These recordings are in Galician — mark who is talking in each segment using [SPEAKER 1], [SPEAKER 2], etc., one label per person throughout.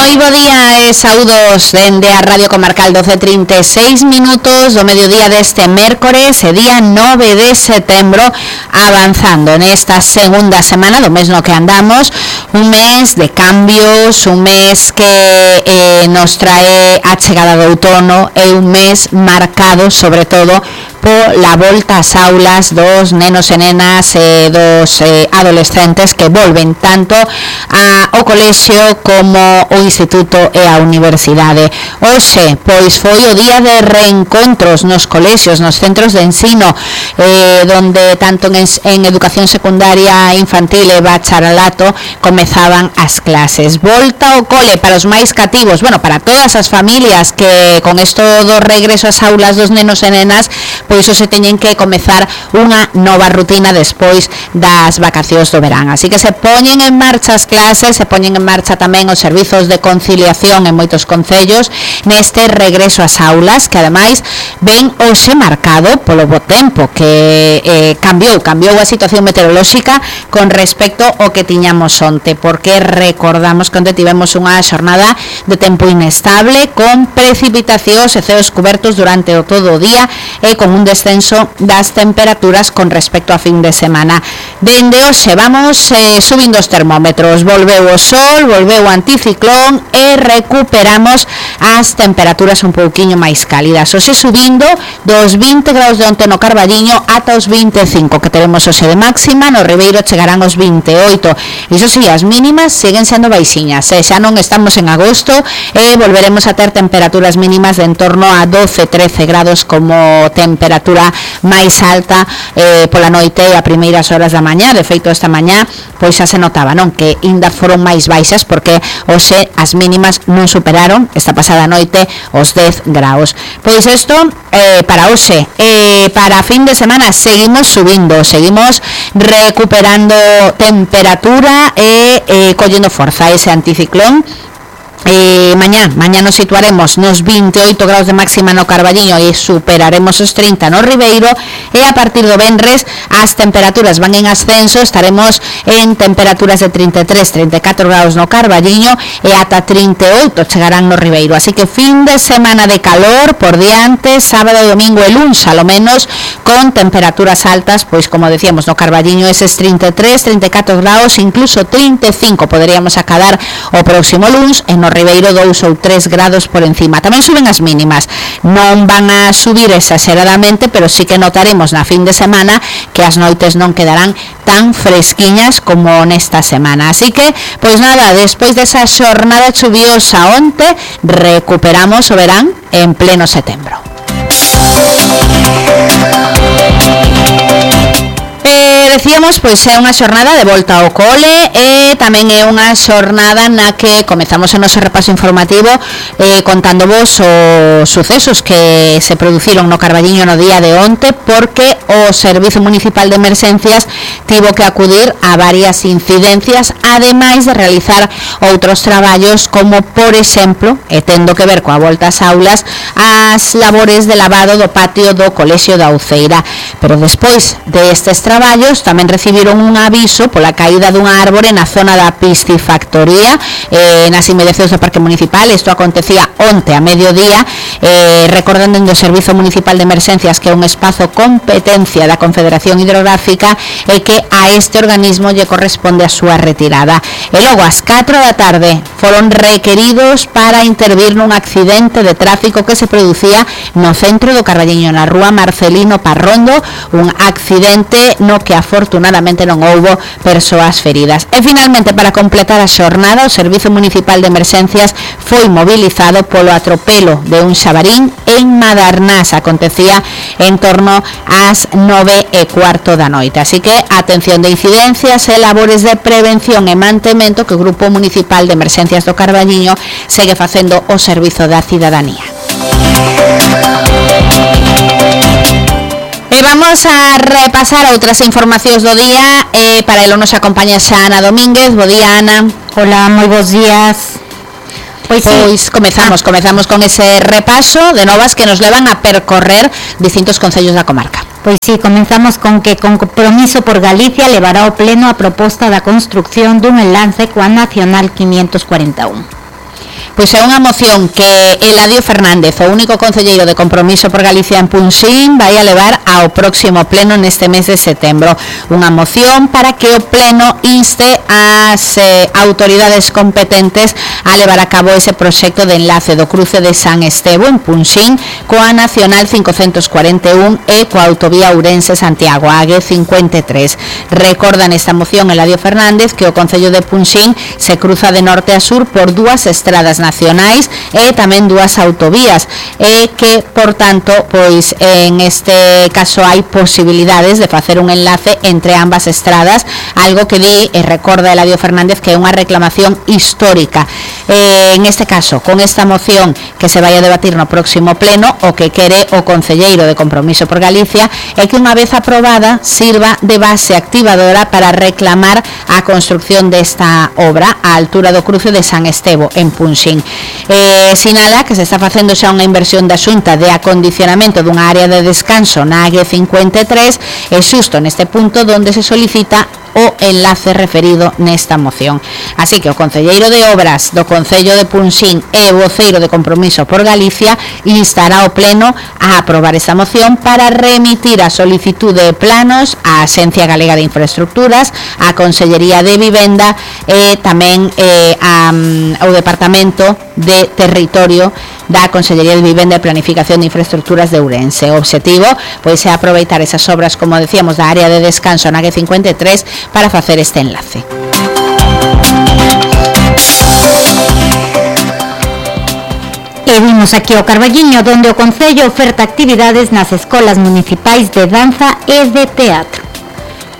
[SPEAKER 1] Moi bo día e saúdos dende a Radio Comarcal 12:36 minutos do mediodía deste mércores e día 9 de setembro, avanzando nesta segunda semana do mes no que andamos, un mes de cambios, un mes que nos trae a chegada do outono e un mes marcado sobre todo pola volta ás aulas dos nenos e nenas e dos adolescentes que volven tanto ao colexio como o instituto e a universidade. Hoxe, pois, foi o día de reencontros nos colexios, nos centros de ensino, donde tanto en educación secundaria, infantil e bacharelato comezaban as clases. Volta ao cole para os máis cativos, bueno, para todas as familias que con isto do regreso ás aulas dos nenos e nenas, pois se teñen que comezar unha nova rutina despois das vacacións do verán. Así que se poñen en marcha as clases, se poñen en marcha tamén os servizos de conciliación en moitos concellos neste regreso ás aulas, que ademais ven hoxe marcado polo bo tempo que cambiou a situación meteorolóxica con respecto ao que tiñamos onte, porque recordamos que onte tivemos unha xornada de tempo inestable con precipitacións e ceos cubertos durante o todo o día e con un descenso das temperaturas con respecto a fin de semana. Dende hoxe vamos subindo os termómetros, volveu o sol, volveu o anticiclón e recuperamos as temperaturas un pouquiño máis cálidas. Hoxe subindo dos 20 graus de onte no Carballiño ata os 25 que teremos hoxe de máxima, no Ribeiro chegarán os 28. Iso si, as mínimas siguen sendo baixiñas, xa non estamos en agosto e volveremos a ter temperaturas mínimas de en torno a 12-13 grados como temperatura máis alta pola noite e a primeiras horas da mañá. De feito, esta mañá pois xa se notaba, non, que ainda foron máis baixas porque hoxe as mínimas non superaron esta pasada noite os 10 graus. Pois isto para hoxe, para fin de semana seguimos subindo, seguimos recuperando temperatura e collendo forza ese anticiclón. Mañá nos situaremos nos 28 graus de máxima no Carballiño e superaremos os 30 no Ribeiro, e a partir do venres as temperaturas van en ascenso, estaremos en temperaturas de 33-34 graus no Carballiño e ata 38 chegarán no Ribeiro. Así que fin de semana de calor por diante, sábado e domingo e luns, a lo menos con temperaturas altas, pois como decíamos no Carballiño eses 33-34 graus, incluso 35 poderíamos acadar o próximo luns, e no Ribeiro 2 ou 3 grados por encima. Tamén suben as mínimas, non van a subir exageradamente, pero sí que notaremos na fin de semana que as noites non quedarán tan fresquiñas como nesta semana. Así que, pois nada, despois desa xornada chuviosa onte, recuperamos o verán en pleno setembro. Decíamos, pois é unha xornada de volta ao cole e tamén é unha xornada na que comezamos o noso repaso informativo contándovos os sucesos que se produciron no Carballiño no día de onte, porque o Servizo Municipal de Emerxencias tivo que acudir a varias incidencias, ademais de realizar outros traballos como, por exemplo, e tendo que ver coa volta ás aulas, as labores de lavado do patio do Colexio da Uceira. Pero despois destes traballos tamén recibiron un aviso pola caída dunha árbore na zona da piscifactoría, nas inmediacións do Parque Municipal. Isto acontecía onte a mediodía, recordando do Servizo Municipal de Emerxencias que é un espazo competencia da Confederación Hidrográfica e que a este organismo lle corresponde a súa retirada. E logo ás 4 da tarde foron requeridos para intervir nun accidente de tráfico que se producía no centro do Carballiño, na rúa Marcelino Parrondo, un accidente no que afortunadamente non houbo persoas feridas. E finalmente, para completar a xornada, o Servizo Municipal de Emerxencias foi mobilizado polo atropelo de un xabarín en Madarnás. Acontecía en torno ás 9:15 da noite. Así que atención de incidencias e labores de prevención e mantemento que o Grupo Municipal de Emerxencias do Carballiño segue facendo o servizo da cidadanía. E vamos a repasar outras informacións do día, para elo nos acompaña xa Ana Domínguez. Bo día, Ana.
[SPEAKER 2] Hola, moi bons días.
[SPEAKER 1] Pois comezamos con ese repaso de novas que nos levan a percorrer distintos concellos da comarca.
[SPEAKER 2] Pois sí, comenzamos con que Compromiso por Galicia levará ao pleno a proposta da construcción dun enlace coa Nacional 541.
[SPEAKER 1] Pois é unha moción que Eladio Fernández, o único concelleiro de Compromiso por Galicia en Punxín, vai a levar ao próximo pleno neste mes de setembro. Unha moción para que o pleno inste ás autoridades competentes a levar a cabo ese proxecto de enlace do cruce de San Estevo en Punxín coa Nacional 541 e coa autovía Ourense-Santiago, a AG53. Recorda nesta moción Eladio Fernández que o Concello de Punxín se cruza de norte a sur por dúas estradas nacionais e tamén dúas autovías e que, por tanto, pois en este caso hai posibilidades de facer un enlace entre ambas estradas, algo que di e recorda Eladio Fernández que é unha reclamación histórica. En este caso, con esta moción que se vai a debatir no próximo pleno, o que quere o concelleiro de Compromiso por Galicia é que unha vez aprobada sirva de base activadora para reclamar a construcción desta obra á altura do cruce de San Estevo en Punxín. Sinala que se está facendo xa unha inversión da Xunta de acondicionamento dunha área de descanso na AG53 e xusto neste punto onde se solicita o enlace referido nesta moción. Así que o concelleiro de Obras do Concello de Punxín e voceiro de Compromiso por Galicia instará ao pleno a aprobar esta moción para remitir a solicitude de planos á Axencia Galega de Infraestructuras, á Consellería de Vivenda e tamén ao Departamento de Territorio da Consellería de Vivenda e Planificación de Infraestructuras de Ourense. O obxectivo pois é aproveitar esas obras, como decíamos, da área de descanso na AG53 para facer este enlace.
[SPEAKER 2] E vimos aquí o Carballiño, donde o Concello oferta actividades nas escolas municipais de danza e de teatro.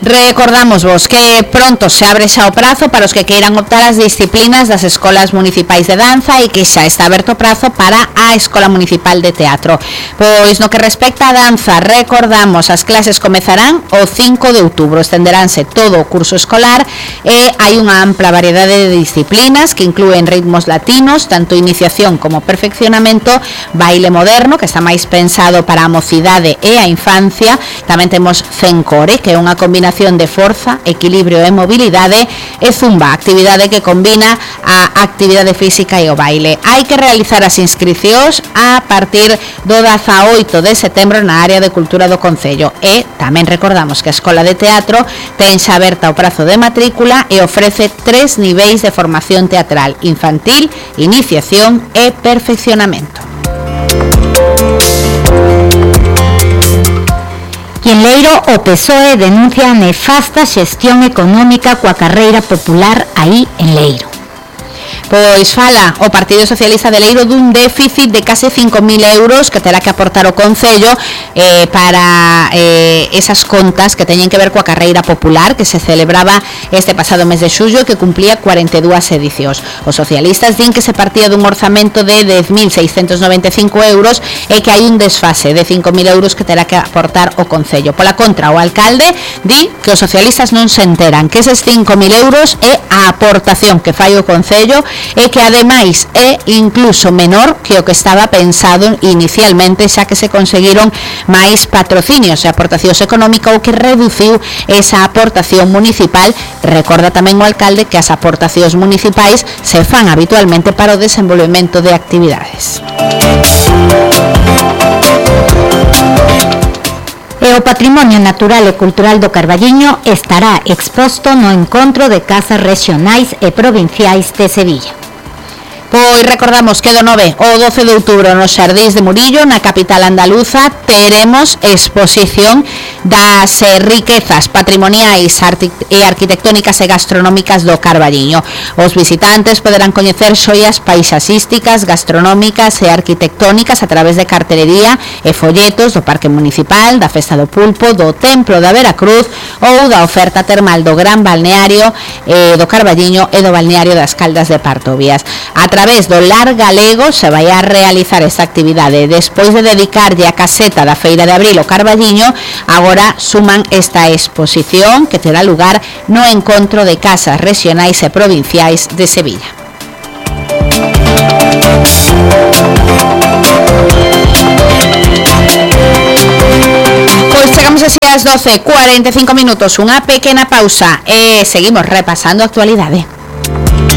[SPEAKER 1] Recordamos vos que pronto se abre xa o prazo para os que queiran optar as disciplinas das escolas municipais de danza e que xa está aberto o prazo para a Escola Municipal de Teatro. Pois no que respecta a danza, recordamos, as clases comezarán o 5 de outubro, estenderánse todo o curso escolar e hai unha ampla variedade de disciplinas que inclúen ritmos latinos, tanto iniciación como perfeccionamento, baile moderno, que está máis pensado para a mocidade e a infancia, tamén temos Cencore, que é unha combinación de forza, equilibrio e mobilidade, e zumba, actividade que combina a actividade física e o baile. Hai que realizar as inscricións a partir do 18 de setembro na área de cultura do Concello e tamén recordamos que a Escola de Teatro ten xa aberta o prazo de matrícula e ofrece 3 niveis de formación teatral: infantil, iniciación e perfeccionamento.
[SPEAKER 2] E en Leiro, o PSOE denuncia a nefasta xestión económica coa carreira popular aí en Leiro.
[SPEAKER 1] Pois fala o Partido Socialista de Leiro dun déficit de case 5.000 euros que terá que aportar o Concello para esas contas que teñen que ver coa carreira popular que se celebraba este pasado mes de xullo e que cumplía 42 edicións. Os socialistas din que se partía dun orzamento de 10.695 euros e que hai un desfase de 5.000 euros que terá que aportar o Concello. Pola contra, o alcalde di que os socialistas non se enteran que eses 5.000 euros é a aportación que fai o Concello e que ademais é incluso menor que o que estaba pensado inicialmente, xa que se conseguiron máis patrocinios e aportacións económicas, o que reduciu esa aportación municipal. Recorda tamén o alcalde que as aportacións municipais se fan habitualmente para o desenvolvemento de actividades.
[SPEAKER 2] E o patrimonio natural e cultural do Carballiño estará exposto no encontro de casas rexionais e provinciais de Sevilla.
[SPEAKER 1] Pois recordamos que do 9 ao 12 de outubro nos Xardíns de Murillo, na capital andaluza, teremos exposición das riquezas patrimoniais e arquitectónicas e gastronómicas do Carballiño. Os visitantes poderán coñecer xoias paisaxísticas, gastronómicas e arquitectónicas a través de cartelería e folletos do Parque Municipal, da Festa do Pulpo, do Templo da Veracruz ou da oferta termal do Gran Balneario do Carballiño e do Balneario das Caldas de Partovías. A través do Lar Galego se vai a realizar esta actividade. Despois de dedicarlle a caseta da Feira de Abril o Carballiño, agora suman esta exposición que terá lugar no encontro de casas rexionais e provinciais de Sevilla. Pois chegamos así ás 12:45, unha pequena pausa e seguimos repasando a actualidade.